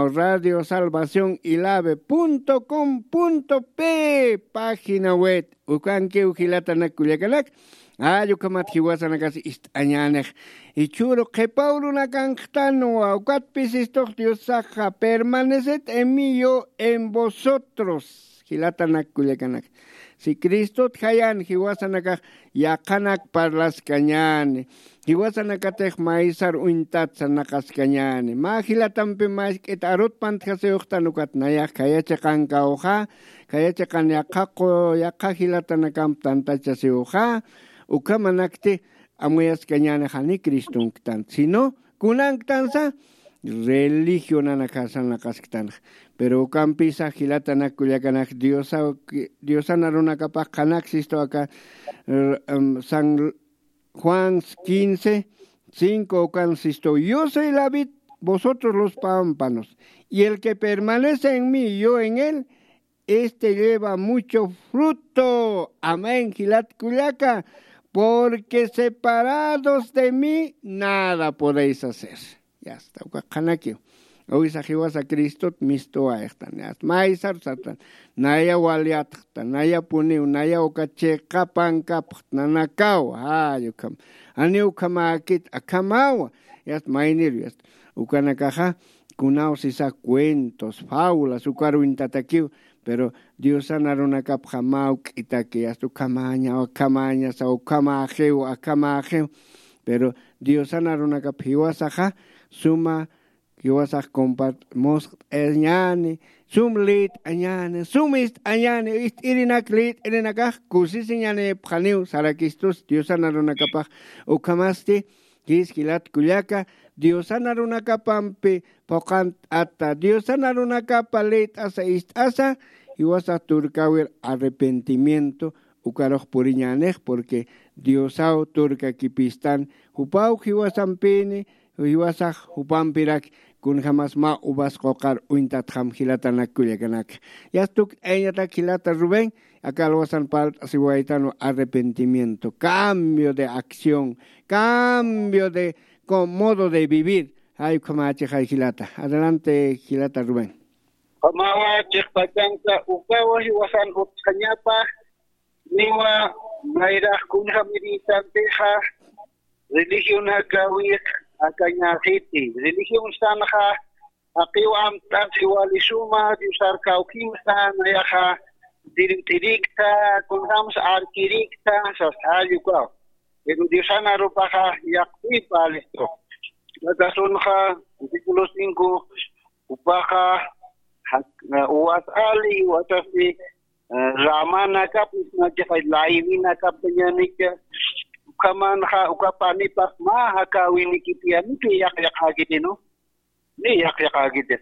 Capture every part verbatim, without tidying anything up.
Radio Salvación Ilave punto com punto pe, página web. Ukankiw jilatanak kullakanak. Ay, ukhamat jiwasanakas ist'añänix. Jichhüru qhipa urunakanxtanwa, ukatpis istux Diosaxa, permaneced en mí, yo en vosotros. Jilatanak kullakanak. Si Cristot jayan jiwasanakax yaqhanak parlaskañäni. Jiwasanakatix maysar uñtat sarnaqaskañäni. Mä jilatampi mask'it arut pantjasiwxtan ukat nayax khaya chiqankawxa, khaya chiqan yaqha qu-, yaqha jilatanakamp tantachasiwxa, ukhamanakti amuyaskañäni jani Cristonktan, sino kunanktansa religionanakasa sarnaqasktanx. Pero ukampisa jilatanak kullakanak Diosa-, Diosan arunakapax qhanaksistu aka, eh, em, San Juan quince, cinco, ukan sistu: Yo soy la vid, vosotros los pámpanos, y el que permanece en mí, yo en él, este lleva mucho fruto. Amén, jilat kullaka, porque separados de mí nada podéis hacer. Ya está, uka qhanakiw. Awisa jiwasa Cristot mistuwayxtan, ya está. Maysar sartan, naya walyatxta, nayapuniw, naya uka chiqa pankapxta, nanakaw, ay, ukham. Janiw ukhamäkit, akhamawa, ya está, mayniru, ya está. Ukanakaxa, kunaw sisa cuentos, fábulas, ukar uñtatakiw, pero Diosan arunakapxa mä juk'itaki, ya está, ukhamaña, ukhamañasa, ukhamäxiw, akhamäxiw. Pero Diosan arunakap jiwasaxa, suma jiwasax compartmusqt'añäni, sum lït'añäni, sum ist'añäni, ist'irinak lït'irinakax kusisiñänipxaniw, sarakistus Diosan arunakapax. Ukhamasti, jis jilat kullaka, Diosan arunakapampi phuqhant'ata, Diosan arunakapa lït'asa, ist'asa, jiwasax turkäwir arrepentimiento, ukarux puriñänix, porque Diosaw turkakipistan, jupaw jiwasampini, jiwasax jupampirak, kunjamas mä uvas quqar uñtatxam jilatanak kullakanak. Ya está, ukañatak jilata Rubén, aka alwasan parlt'asiwaytanwa arrepentimiento, cambio de acción, cambio de co-, modo de vivir. Ay, ukhamächixay jilata. Adelante, jilata Rubén. Ukhamawa, chiqpachansa, ukawa jiwasan utjañapa, niwa mayrax kunjamirïtantixa, religionakawix akañäxiti. Religion sanxa, jaqiw amt'asi wali suma, Diosar kawkimsa, nayaxa tirint'irikta, kunjamsa arkirikta, sas jall ukaw. Pero Diosan arupaxa yaqhipa listo. Aka sunxa, versículo cinco, jupaxa, jak-, uvas ali, jiwasasti, eh, ramanakapis, nachixa laywinakaptañänicha, ukhamanxa, ukapanipax mä jakäwinikiti, niya yaqyaqäkiti, ¿no? Niya yaqyaqäkiti.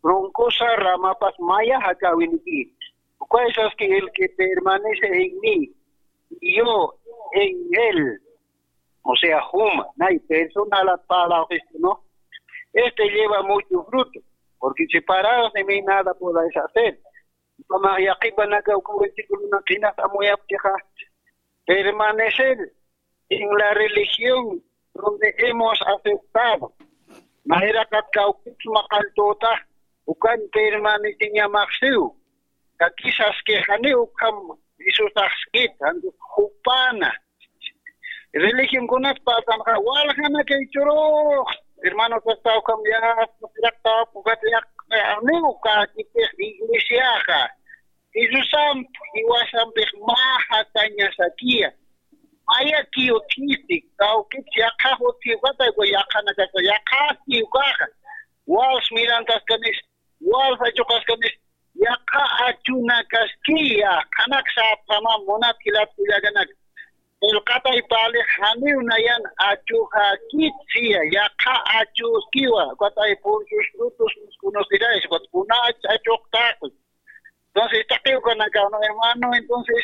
Troncosa, ramapas maya jakäwiniki. Ukay saski: el que permanece en mí, y yo en él. O sea, juma, nay personalat parlawxistu, ¿no? Este lleva mucho fruto, porque separados de mí nada podéis hacer. Ukhamax yaqhipanaka uka versículonak jinas amuyaptixa, permanecer en la religión donde hemos aceptado. Nayraqat kawkipsma qalltutax, ukan permaneciñamaxsiw. Kakisas que janiw ukham Jesusaxskit, jupana. Religionkunat partanxa, waljanakay churux, hermano, kasta ukham ya, siraqta, ukat ya, janiw kakipix iglesiaxa. Jesusamp jiwasampix mä jakañasakiya. Mayakiw utjiti, kawkit yaqha utji, ukatay uka yaqhanakasa, yaqhasti ukaxa. Wals mirantaskanis, wals achuqaskanis, yaqha achunakaskiya, qhanak sapxamam munat jilat kullakanak. Qillqatay parlix janiw nayan achuxakit siya, yaqha achuskiwa, ukatay por sus frutos los conoceráis, ukat kunach achuqtaqi. Entonces, taqi ukanakaw, ¿no, hermano? Entonces,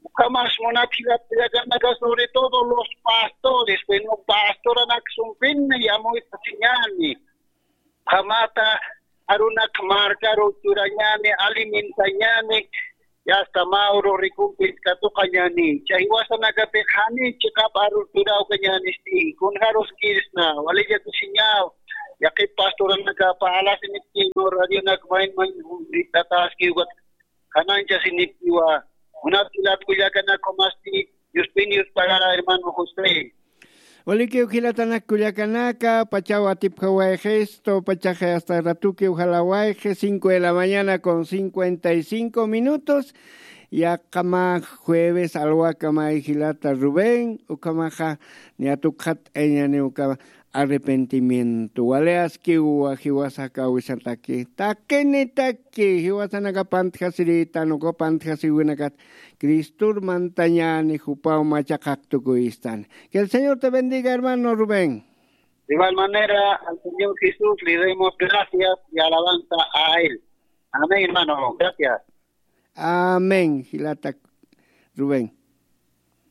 ukhamas munat jilat kullakanaka, sobre todo los pastores, bueno, pastoranak sumpini yamuytasiñäni. Ukhamata arunak markaru churañäni, alimentañäni, y hasta mä uru recompensa katuqañäni. Chay jiwasanakapix jani chiqap aru churawkañänisti, kunjaruskirisna, walillatusiñaw. Yaqip pastoranaka pa'alasinipki, no radionak mayn mayn ritataski ukat jananchasinipkiwa. Munat jilat kullakanaka masti, Diospi Dios pagara, hermano José. Walikiw jilatanak kullakanaka, pachaw atipjawayxistu, pachaxi hasta ratukiw jalawayxi, cinco de la mañana con cincuenta y cinco minutos. Yaqama jueves alwakamay jilata Rubén, ukhamaxa niyatukxat eñani uka arrepentimiento. Wali askiwa jiwasaka wisataki. Taqinitaki, jiwasanaka pantjasiritan, uka pantjasiwinakat Cristur mantañani jupaw machaqaq tukuystan. Que el Señor te bendiga, hermano Rubén. De igual manera, al Señor Jesús le demos gracias y alabanza a Él. Amén, hermano. Gracias. Amén, jilata Rubén.